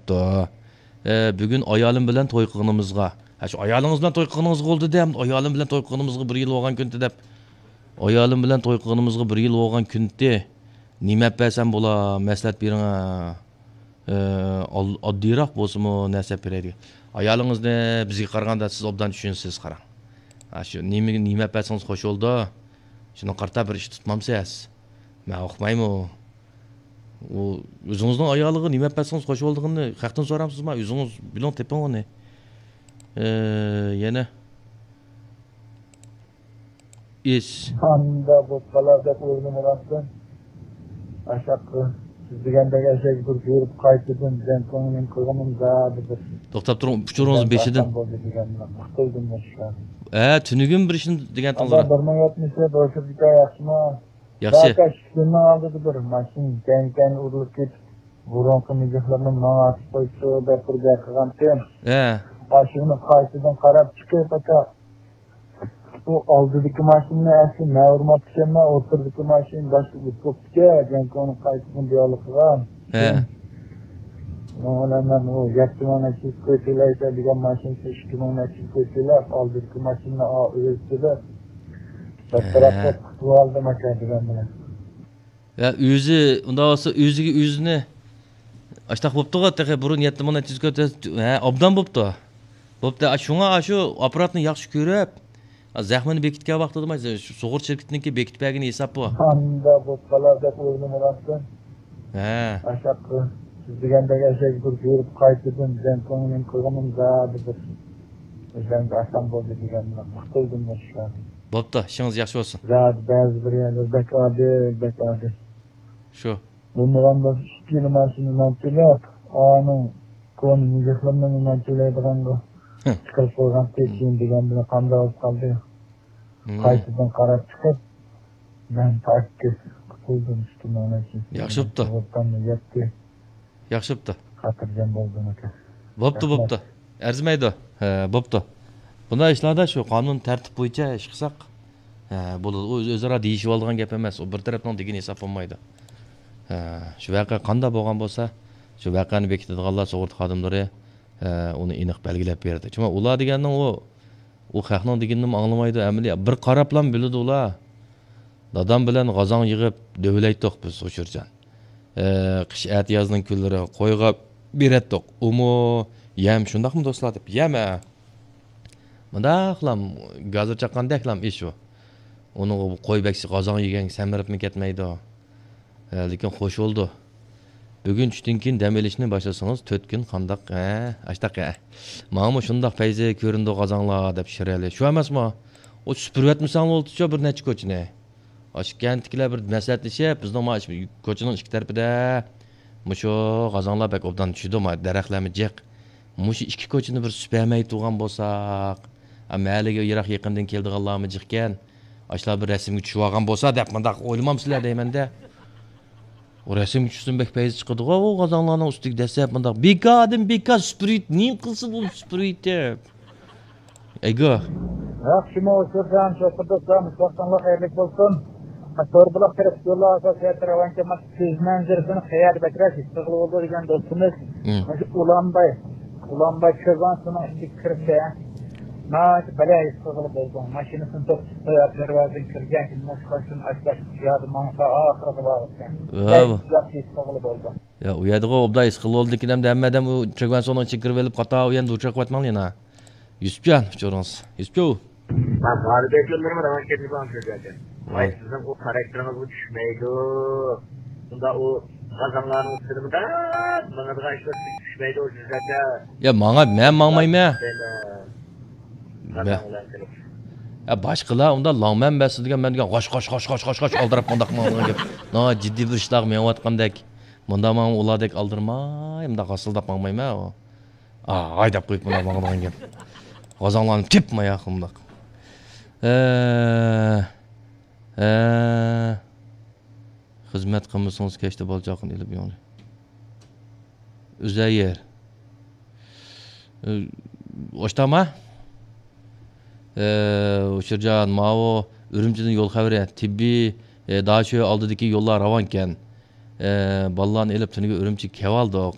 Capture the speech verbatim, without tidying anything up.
بوپتۇ. ئە، بۈگۈن ئايالىم بىلەن توي قىلغىنىمىزغا. ھە، شۇ ئايالىڭىز بىلەن توي قىلغىنىڭىزغا بولدى دە، ئايالىم بىلەن توي قىلغىنىمىزغا بىر يىل بولغان كۈندە دەپ. ئايالىم بىلەن توي قىلغىنىمىزغا بىر يىل بولغان كۈندە نېمە ئەپ بەرسەم بولا، مەسلىھەت بېرىڭە. ئە، ئال-، ئاددىيراق بولسىمۇ نەرسە ئەپ بېرەي دېگەن. ئايالىڭىزنى بىزگە قارىغاندا سىز ئوبدان چۈشىنىسىز، قاراڭ. ھە، شۇ نېمە، نېمە ئەپ بەرسىڭىز خوش بولىدۇ. شۇنىڭغا قارىتا بىر ئىش تۇتمامسىز؟ مەن ئۇقمايمۇ. ئۇ ئۆزىڭىزنىڭ ئايالىغا نېمە ئەپ بەرسىڭىز خوش بولىدىغىنىنى خەقتىن سورامسىزما؟ ئۆزىڭىز بىلىڭ، تېپىڭ ئۇنى. ئى، يەنە. ئىس. ئاندا بولۇپ قالار دەپ ئويلىمىغانتىم. ئاشاق سىز دېگەندەك ئەشەگە بىر بۇيرۇپ قايتىدىن دېگەن كۆڭلۈم قىلغىنىم زادى بىر. توختاپ تۇرۇڭ، ئۇچۇرىڭىز بىردەم بېشىدىن. ئاسان بولدى دېگەننى قۇتۇلدۇم مۇشۇ. ھە، تۈنۈگۈن بىر ئىشنى دېگەنتىڭىز. ئادا، بىر مىڭ يەتمىش دۆت ئوشۇرۇپ كېتەر، ياخشىمۇ؟ ياخشى. بەكەش كۈننىڭ ئالدىدا بىر ماشىنا كەڭ-كەڭ ئۇرۇلۇپ كېتىپ، بۇرۇنقى مىجىقلىرىنى ماڭا ئاتىپ قويسا دەپ بىر گەپ قىلغانتىم. ھە. ئاشۇنى قايتىدىن قاراپ چىقىپ، ئاكا، ئۇ ئالدىدىكى ماشىنىنى ئەسلى مەن ئۇرماپتىكەنمەن، ئوتتۇرىدىكى ماشىنا باشقا ئۇرۇپ بوپتىكەن، جەڭكوڭنى قايتىدىن دىئالوگ قىلغان. ھە. شۇنىڭ بىلەن مەن ئۇ يەتتە مىڭ نەچچە يۈز كوي تۆلەيسەن دېگەن ماشىنىسى ئىككى مىڭ نەچچە يۈز كوي تۆلەپ، ئالدىدىكى ماشىنىنى ئا-، ئۆزى تۆلەپ، بىر ھە. تەرەپتە قۇتۇلۇۋالدىم ئاكا دېگەن بىلەن. يا، ئۆزى، ئۇنداق بولسا ئۆزىگە ئۆزىنى، ئاشتاق بوپتىغۇ، تېخى بۇرۇن يەتتە مىڭ نەچچە يۈز كۆتۈرۈپ، ھە، ئوبدان بوپتۇ. بوپتۇ، ئا، شۇڭا ئا، شۇ ئاپپاراتنى ياخشى كۆرۈپ، ئا، زەخمىنى بېكىتكەن ۋاقتىدا، مانا، سۇغۇرتا شىركىتىنىڭكى بېكىتىپ بەرگىنى ھېساب بۇ. ئاندا بوپ قالار دەپ ئويلىمىغانتىم. ھە. ئاشاق سىز دېگەندەك ئەشەگە بىر بۇيرۇپ قايتىدىن دېگەن كۆڭلۈم قىلغىنىم زادى بىر. ئۆزۈمگە ئاسان بولدى دېگەن بىلەن قۇتۇلدۇم مۇشۇ. بوپتۇ، ئىشىڭىز ياخشى بولسۇن. زادى بەزى بىر يەرلەر بەك ئادىل، بەك ئادىل. شۇ. بولمىغان بولسا ئىككىلا ماشىنا نان تۆلەپ، ئانىڭ كونا مىجىقلىرىنىڭ نان تۆلەيدىغانغا ھە. چىقىرىپ قويغان تېشىن دېگەن بىلەن قانداق بولۇپ قالدى. ھىم. قايتىدىن قاراپ چىقىپ، مەن پاكىز قۇتۇلدۇم ئىككى مىڭ نەچچە يۈز. ياخشى بوپتۇ. سۇغۇرتاممۇ يەتتى. ياخشى بوپتۇ. خاتىرجەم بولدۇم ئاكا. بوپتۇ، رەھمەت. بوپتۇ. ئەرزىمەيدۇ. ھە، بوپتۇ. بۇنداق ئىشلاردا شۇ قانۇن تەرتىپ بويىچە ئىش قىلساق، ھە، بولىدۇ. ئۇ ئۆزئارا دېيىشىۋالىدىغان گەپ ئەمەس. ئۇ بىر تەرەپنىڭ دېگىنى ھېساب بولمايدۇ. ھە، شۇ ۋەقە قانداق بولغان بولسا، شۇ ۋەقەنى بېكىتىدىغانلار سۇغۇرتا خادىملىرى، ھە، ئۇنى ئېنىق بەلگىلەپ بېرىدۇ. چۈنكى ئۇلار دېگەننىڭ ئۇ، ئۇ خەقنىڭ دېگىنىنىمۇ ئاڭلىمايدۇ، ئەمەلىي بىر قاراپلا بىلىدۇ ئۇلار. دادام بىلەن غازاڭ يىغىپ دۆۋىلەيتتۇق بىز ئۇچۇرجان. ئە، قىش ئەتىيازنىڭ كۈنلىرى قويغا بېرەتتۇق. ئۇمۇ يەم شۇنداقمۇ دوستلار دەپ، يەم ھە. مۇنداقلام گازىر چاققاندەكلام ئىش ئۇ. ئۇنىڭغا قوي بەكسى غازاڭ يېگەن سەمرىپمۇ كەتمەيدۇ. ھە، لېكىن خوش بولدى. بۈگۈن چۈشتىن كېيىن دەم ئېلىشنى باشلىسىڭىز تۆت كۈن قانداق؟ ھە، ئاشتاق ھە. ماڭىمۇ شۇنداق پەيزى كۆرۈندى غازاڭلار دەپ شىرئەلى. شۇ ئەمەسمۇ؟ ئۇ سۈپۈرۈۋەتمىسەڭلار بولدىچۇ بىر نەچچە كوچىنى. ئاشۇ كەنتتىكىلەر بىر مەسلىھەتلىشىپ، بىزنىڭ مانا شۇ كوچىنىڭ ئىككى تەرىپىدە مۇشۇ غازاڭلار بەك ئوبدان چۈشىدۇ، ما دەرەخلەرمۇ جىق. مۇشۇ ئىككى كوچىنى بىر سۈپۈرمەي تۇرغان بولساق، ئا، مەھەللىگە يىراق يېقىندىن كېلىدىغانلارمۇ جىقكەن. ئاشۇلار بىر رەسىمگە چۈشۈۋالغان بولسا دەپ مۇنداق ئويلىمامسىلەر دەيمەن-دە. ئۇ رەسىمگە چۈشسىمۇ بەك پەيزى چىقىدىغۇ، ئۇ غازاڭلارنىڭ ئۈستىگە دەسسەپ مۇنداق بىكاردىن بىكار سۈپۈرۈۋېتىپ، نېمە قىلسا بولدى سۈپۈرۈۋېتىپ. ئەيگو. ياخشىمۇ ئۇچۇرجان، شوپۇر دوستلار، مۇشۇ ۋاقتىڭلار خەيرلىك بولسۇن. توربۇلاق تەرەپ يوللار ئاساسىي راۋانكەن، مانا كۆز مەنزىرىسىنى قەيەردە بەكرەك ھېس قىلغىلى بولىدۇ دېگەن دوستىمىز. مم. مۇشۇ ئۇلانباي، ئۇلانباي كۆرگەنسېنىڭ ئىچىگە كىرسە، ناھايىتى بەلەن ھېس قىلغىلى بولىدۇ. ماشىنىسىنى توختىتىپ قويۇپ، دەرۋازىدىن كىرگەن كېيىن مۇشۇ قاچتىن ئاشۇ ياردىن ماڭسا ئاخىرىغا بارغۇسى. ۋاۋ. بەك ياخشى ھېس قىلغىلى بولىدۇ. يا، ئۇ يەردىغۇ ئوبدان ھېس قىلىۋالدىكىن ئەمدى ھەممە ئادەم ئۇ چۆگەنسونىڭ ئىچىگە كىرىۋېلىپ قاتا ئۇ يەردە ئۇچراپ قاۋاتماڭلار يەنە. يۈسۈپجان، ئۇچۇرىڭىز. يۈسۈپجو. ھە، بارى بەكلىمىرىم راۋان كەتمىدى ئانچە زادى. ۋاي، ۋاي. سىزنىڭ ئۇ خاراكتېرىڭىزغا چۈشمەيدۇ. شۇنداق ئۇ غازاڭلارنىڭ ئۈستىدە مۇنداق ماڭىدىغان ئىشلار سىزگە چۈشمەيدۇ، ئۇ زادى. يا، ماڭا، مەن ماڭمايمەن. مەن، مەن. غازاڭ بىلەن قېلىپ. يا، باشقىلار ئۇنداق لاڭمەن بەسسە دېگەن، مەن دېگەن غاش، غاش، غاش ئالدىراپ مۇنداق ماڭىدىغان گەپ. ناھايىتى جىددىي بىر ئىشلارغا مېڭىۋاتقاندەك. مۇنداق ماڭا ئۇلاردەك ئالدىرىماي، مۇنداق غاسىلداپ ماڭمايمەن ئۇ. ئا، ھايداپ قويۇپ مۇنداق ماڭىدىغان گەپ. غازاڭلارنى تېپماي ياق مۇنداق. ئە، ئە، خىزمەت قىلمىسىڭىز كەچتە بالا چاقىنى ئېلىپ يوڭى. ئۈزەيىر. ئە، ئوشتاما؟ ئە، ئۇچۇرجان، ماۋۇ ئۈرۈمچىدىن يول خەۋىرى، تېببىي، ئە، داشۆ ئالدىدىكى يوللار راۋانكەن. ئە، بالىلارنى ئېلىپ تۈنۈگۈن ئۈرۈمچىگە كېلىۋالدۇق.